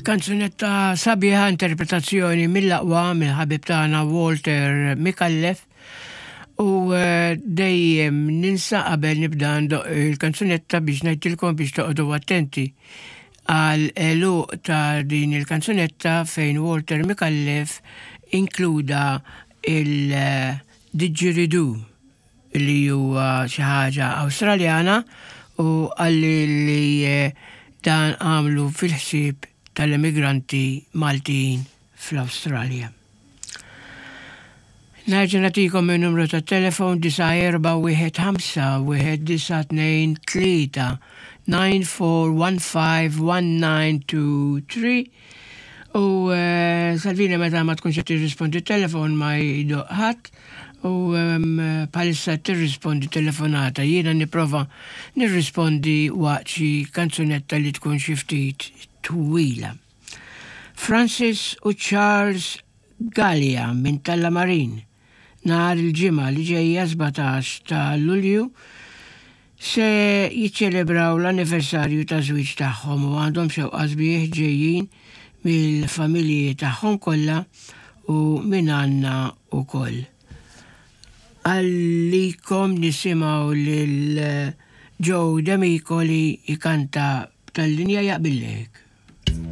Kanzunetta sabiħa interpretazzjoni mill-aqwa mill-ħabib tagħna Walter Micallef u eh, dejjem ninsa qabel nibda ndoq il-kanzunetta biex ngħidilkom biex toqgħodu attenti għal għeluq ta' din il-kanzunetta fejn Walter Micallef inkluda il-didgeridoo li huwa xi ħaġa Awstraljana u qalli li dan għamlu fil-ħsieb tal-emigranti Maltin fl-Awstralja. Nerġa' nagħtikom in-numru tat-telefon 9415 1923 94151923 u eh, Salvini meta ma tkunx qed tirrispondi t-telefon ma jdoq ħadd u bħalissa tirrispondi telefonata jiena nipprova nirrispondi waqt xi kanzunetta li tkun xi ftit twila. Francis u Charles Galea minn Tallamarin nhar il-Ġimgħa li ġejja 17 ta' Lulju se jiċċelebraw l-anniversarju taż-żwieġ tagħhom u għandhom xewqa sbieħ ġejjin mill-familji tagħhom kollha u minn għandna wkoll. Għalikom nisimgħu lil Joe Demicoli jkanta b'tal-linja jaqbillek.